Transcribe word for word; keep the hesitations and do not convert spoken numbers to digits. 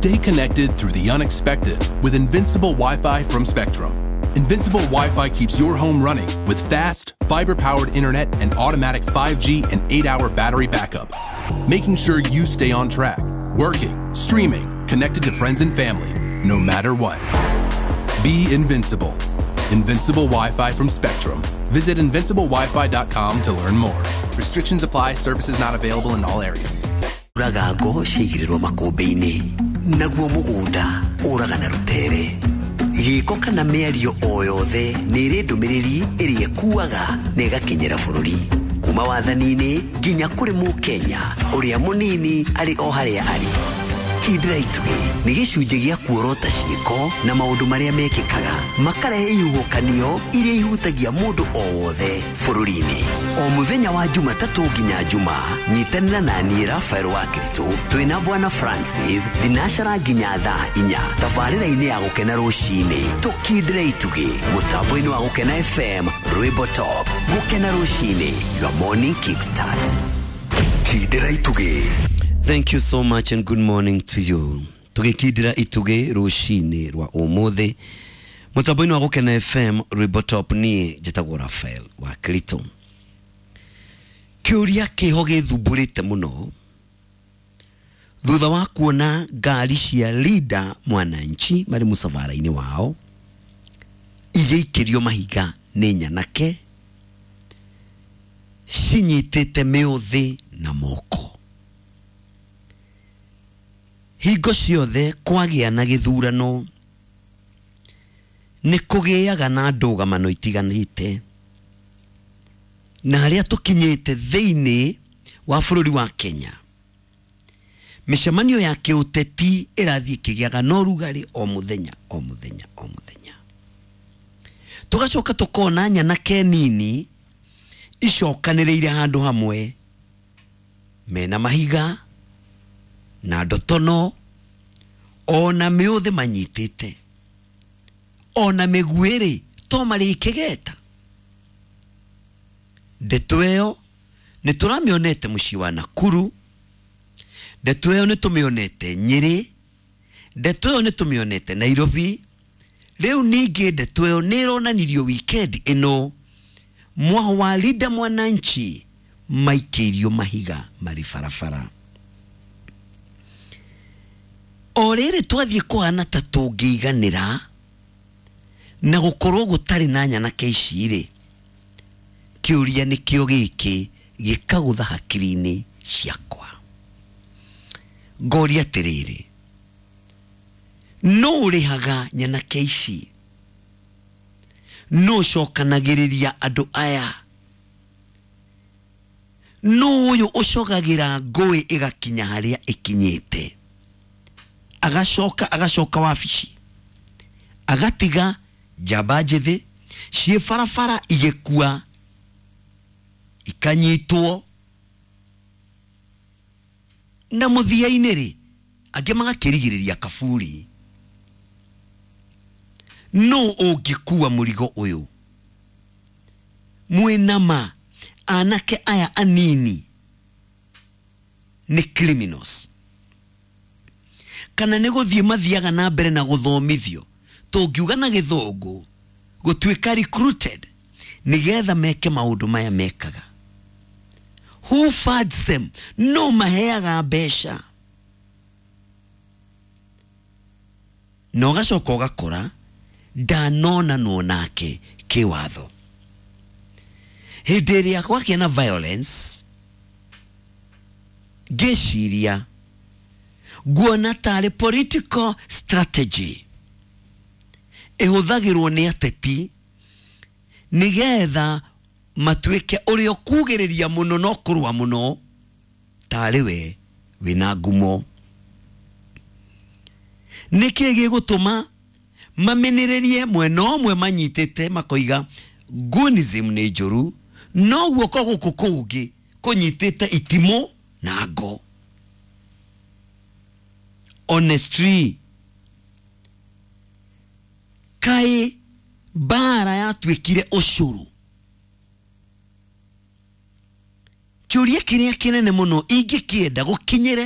Stay connected through the unexpected with Invincible Wi-Fi from Spectrum. Invincible Wi-Fi keeps your home running with fast, fiber-powered internet and automatic five G and eight-hour battery backup, making sure you stay on track, working, streaming, connected to friends and family, no matter what. Be invincible. Invincible Wi-Fi from Spectrum. Visit invincible wifi dot com to learn more. Restrictions apply. Services not available in all areas. Uraga ngo ciigĩrĩrwo makũmbĩ-inĩ naguo mũgũnda ũraga na rũtere gĩko kana mĩario o yothe nĩ ĩrĩ ndũmĩrĩri ĩrĩa ĩkuaga na ĩgakinyĩra bũrũri kuma wathani-inĩ nginya kũrĩ mũkenya ũrĩa mũnini arĩ o harĩa arĩ. Kindĩra itugĩ nĩ gĩcunjĩ gĩa kuorota ciĩko na maũndũ marĩa mekĩkaga makarehe ihuhũkanio iria ihutagia mũndũ o wothe bũrũri-inĩ. O mũthenya wa Jumatatũ nginya Juma, nyitanĩra na niĩ Rafael wa Kiritũ twĩna Bwana Francis thinacara nginya thaa inya tabarĩra-inĩ ya Gũkena rũcinĩ. Tũkindĩre itugĩ mũtambo-inĩ wa Gũkena F M, Rwĩmbo Top. Gũkena rũcinĩ, your morning kickstart. Kindĩra itugĩ. Thank you so much and good morning to you. Tugikindira itugi rucini rwa umuthi mutambo-inĩ wa Gũkena F M, Rwĩmbo Top. Niĩ njĩtagwo Rafael wa Kirito. Kĩũria kĩho gĩthumbũrĩte mũno thutha wa kuona ngari cia Linda Mwananchi marĩ mũcabara-inĩ wao igĩikĩrio mahiga nĩ nyanake cinyitĩte mĩũthĩ na moko. Hingo ciothe kwagĩa na gĩthurano nĩ kũgĩaga na ndũgamano itiganĩte, na harĩa tũkinyĩte thĩinĩ wa bũrũri wa Kenya mĩcemanio ya kĩũteti ĩrathiĩ ĩkĩgĩaga na ũrugarĩ o mũthenya o mũthenya o mũthenya. Tũgacoka tũkona nyanake nini icokanĩrĩire handũ hamwe mena mahiga na ndotono ona mĩũthĩ manyitĩte ona mĩguĩrĩ to marĩ ikĩgeta. Ndeto ĩyo nĩ tũramĩonete mũciĩ wa Nakuru, ndeto ĩyo nĩ tũmĩonete Nyĩrĩ, ndeto ĩyo nĩ tũmĩonete Nairobi. Rĩu ningĩ ndeto ĩyo nĩ ĩronanirio weekend ĩno mwaho wa Linda Mwananchi maikĩirio mahiga marĩ barabara. O rĩrĩ twathiĩ kũhana ta tũngĩiganĩra na gũkorwo gũtarĩ na nyanake ici rĩ, kĩũria nĩkĩo gĩkĩ gĩkagũtha hakiri-inĩ ciakwa. Ngoria atĩrĩrĩ, nũ ũrĩhaga nyanake ici? Nũ ũcokanagĩrĩria andũ aya? Nũ ũyũ ũcogagĩra ngũĩ ĩgakinya harĩa ĩkinyĩte? Agacoka agacoka wabici agatiga njamba njĩthĩ ciĩ barabara igĩkua ikanyitwo, na mũthia-inĩ rĩ angĩ magakĩrigĩrĩria kaburi. Nũ ũngĩkua mũrigo ũyũ? Mwĩna ma anake aya anini nĩ criminals kana nĩ gũthiĩ mathiaga na mbere na gũthomithio, tũngiuga na gĩthũngũ gũtuĩka recruited nĩgetha meke maũndũ maya mekaga. Who funds them? No maheaga mbeca. Na ũgacoka ũgakora ndanonanwo nake kĩwatho. Hĩndĩ ĩrĩa kwagĩa na violence, ngĩciria nguona tarĩ political strategy ĩhũthagĩrwo nĩ ateti nĩgetha matuĩke ũrĩa ũkugĩrĩria mũno no kũrũa mũno tarĩ we wĩna ngumo. Nĩkĩ gĩgũtũma mamenererie mwena ũmwe manyitĩte makoiga gunism nĩ njũru, no guoko gũkũ kũngĩ kũnyitĩte itimũ na ngo? Honestly, kaĩ mbara yatuĩkire ũcũrũ? Kĩũria kĩrĩa kĩnene mũno ingĩkĩenda gũkinyĩre